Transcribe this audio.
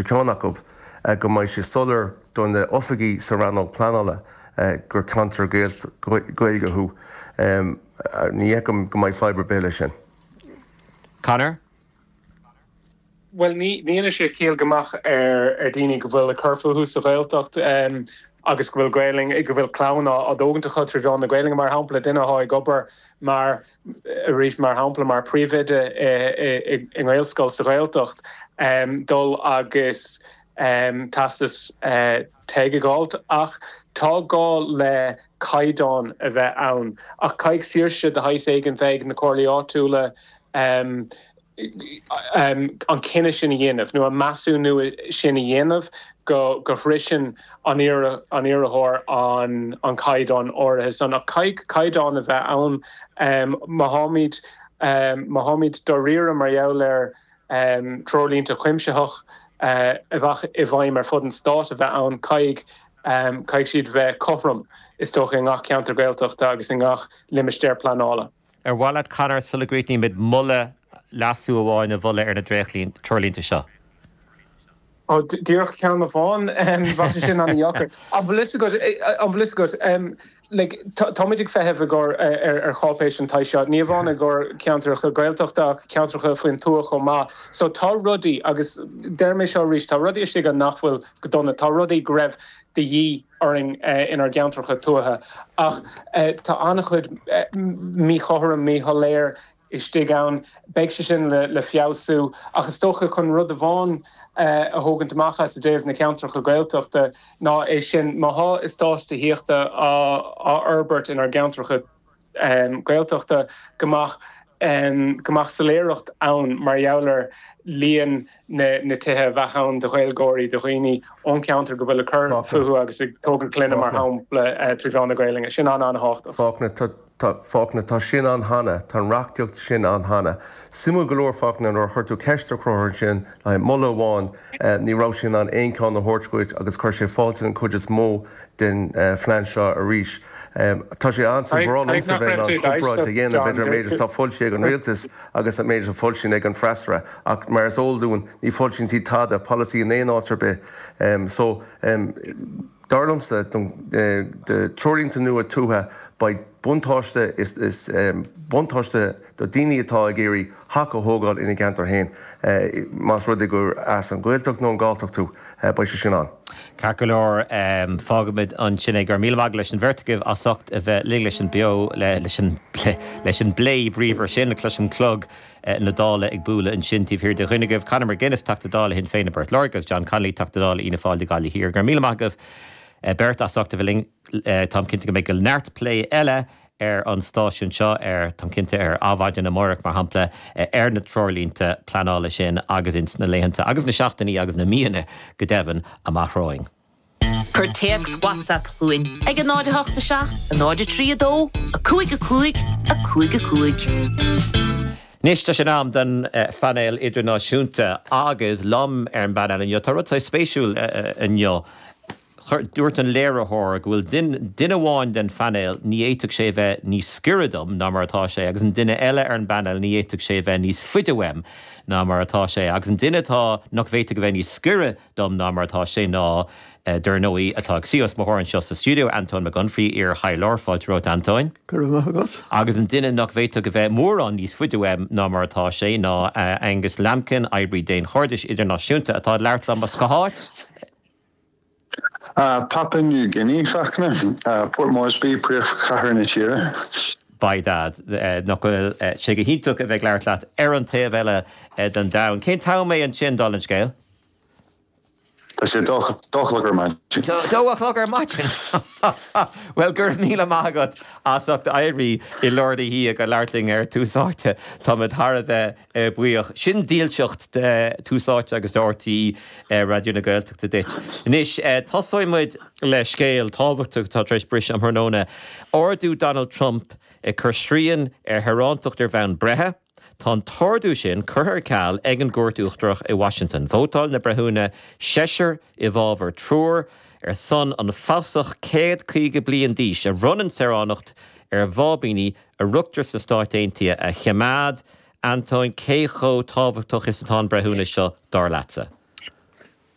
Ceann acu, go mbeidh sé soiléir do na oifigigh sa rannóg pleanála gur ceantar Gaeilge thú. Ní fheicim go mbeidh fadhb ar bith leis sin. Conor? Bhuel, ní dhéanann sé ciall go mbeadh ar daoine go bhfuil ag cur fúthu sa Ghaeltacht agus go bhfuil Gaelainn, go bhfuil clann á dtógaint acu trí mheán na Gaelainne, mar shampla, duine atá ag obair mar, arís, mar shampla, mar phríomhoide i nGaelscoil sa Ghaeltacht, dul agus teastas TEG a dh'fháilt. Ach tá gá le caighdeán a bheith ann. Ach caithfidh saoirse de shaghas éigin bheith ag na comhairlí áitiúla an cinneadh sin a dhéanamh, nó an measúnú sin a dhéanamh go sroicheann an iarrthóir an caighdeán áirithe san. Ach caithfidh caighdeán a bheith ann. Má tháimid, má tháimid dáiríre mar gheall ar treoirlínte cuimsitheach a bheadh i bhfeidhm ar fud an stáit a bheith ann, caithfidh, caithfidh siad bheith cothrom, is dócha, i ngach ceantar Gaeltachta agus i ngach limistéar pleanála. Ar mhaith leat, Conor, sula gcríochnaímid, moladh, leasú amháin a mholadh ar na treoirlínte seo? Ó, díreach ceann amháin? Bheadh sé sin an-dheacair. An bhfuil fhios agat, an bhfuil fhios agat, like, táimid ag feitheamh i gcomhair, ar cháipéis den tsaghas seo, ní amháin i gcomhair ceantracha Gaeltachta ach ceantracha faoin tuath chomh maith. So tá rudaí, agus deir mé seo arís, tá rudaí istigh ann nach bhfuil go dona, tá rudaí go raibh de dhíth orainn inár gceantracha tuaithe. Ach tá an-chuid míchothrom, míshoiléir istigh ann. Beidh sé sin le feabhsú. Ach is dócha chun rud amháin a thógaint amach as i dtaobh na ceantracha Gaeltachta ná é sin, má thá eastáit tithíochta á fhorbairt inár gceantracha Gaeltachta, go mbeadh go mbeadh soiléireacht ann mar gheall ar líon na tithe a bheadh ann do Ghaeilgeoirí, do dhaoine ón cheantar go bhfuil ag cur fúthu agus ag tógaint clainne, mar shampla, trí mheán na Gaelainne. Sin an-an-thábhachtach. Fachtna, Tá, Fachtna, tá sin ann cheana. Tá an reachtaíocht sin ann cheana. Suimiúil go leor, Fachtna, nuair a chuir tú ceist ar Chonchúr ansin le haghaidh moladh amháin, ní raibh sé in ann aon cheann a thabhairt dhuit agus chuir sé fáilte den chuid is mó den phlean seo arís. Tá sé an-suim, ba bhreá liomsa bheith in ann comparáid a dhéanamh idir an méid atá foilsithe ag an rialtas agus an méid atá foilsithe ag an bhfreasúra ach mar is eol dúinn ní foilsíonn siad tada, polasaí in aon áit ar bith. So, dar liomsa, don treoirlínte nua tuaithe beidh buntáiste, is buntáiste do daoine atá ag iarraidh theach a thógáil ina gceantar féin, más rud é gur as an Ghaeltacht nó an Ghalltacht thú, beidh sé sin ann. Ceart go leor, fágfaimid ansin é. Go raibh míle maith agat leis an bheirt agaibh as ucht a bheith linn leis an beo, leis an leis an bplé bríomhar sin. Cloisim clog na Dála ag bualadh ansin taobh thiar de dhuine agaibh. Conor McGuinness, Teachta Dála Shinn Féin i bPort Láirge agus John Connolly, Teachta Dála Fhianna Fáil do Ghaillimh Thiar. Go raibh míle maith agaibh beirt as ucht a bheith linn. Táim cinnte go mbeidh neart plé eile ar an stáisiún seo, ar, táim cinnte, ar Adhmhaidin amárach, mar shampla, ar na treoirlínte pleanála sin agus ins na laethanta agus na seachtainí agus na míonna, go deimhin, amach romhainn. Cuir téacs WhatsApp chugainn ag 0 8 7 0 3 2 5 5 5 5. Anois tá sé in am don phainéal idirnáisiúnta agus liom ar an bpainéal inniu, tá rud saghas spéisiúil inniu. Chuir, dúirt an léiritheoir go bhfuil duine amháin den phainéal, ní fhéadfadh sé a bheith níos giorra dom ná mar atá sé, agus an duine eile ar an bpainéal, ní fhéadfadh sé a bheith níos faide uaim ná mar atá sé. Agus an duine atá, nach bhféadfadh a bheith níos giorra dom ná mar atá sé ná, dar ndóigh, atá ag suí os mo chomhair anseo sa stiúideo, Antóin Mac Unfraidh, iar-thaidhleoir. Fáilte romhat, Antóin. Go raibh maith agat. Agus an duine nach bhféadfadh a bheith mórán níos faide uaim ná mar atá sé ná Angus Lambkin, oibrí daonchairdis idirnáisiúnta, atá ag labhairt liom as cá háit? Papua New Guinea, Fachtna. Port Moresby, príomhchathair na tíre. By dad, nach bhfuil sé go hiontach a bheith ag labhairt leat ar an taobh eile den domhan. Cén t-am é ansin, dála an scéil? Tá sé dó a chlog ar maidin. Dó a chlog ar maidin! Bhuel, go raibh míle maith agat as ucht éirí i lár na hoíche go labhairt linn ar Tús Áite. Táimid thar a bheith buíoch. Sin dílseacht de Tús Áite agus de RTÉ Raidió na Gaeltachta duit. Anois, tosóidh muid le scéal tábhachtach atá tar éis briseadh um thráthnóna. Ordú Donald Trump ag cur srian ar shaorántacht ar bhonn breithe. Tá an t-ordú sin curtha ar ceal ag an gCúirt Uachtarach i Washington. Vótáil na breithiúna, seisear i bhfabhar triúr, ar son an fasach 150 bliain d'aois a bhronnann saoránacht ar bháibíní a rugtar sna Stáit Aontaithe a choimeád. Antóin, cé chomh tábhachtach is atá an breithiúnas seo, dar leatsa?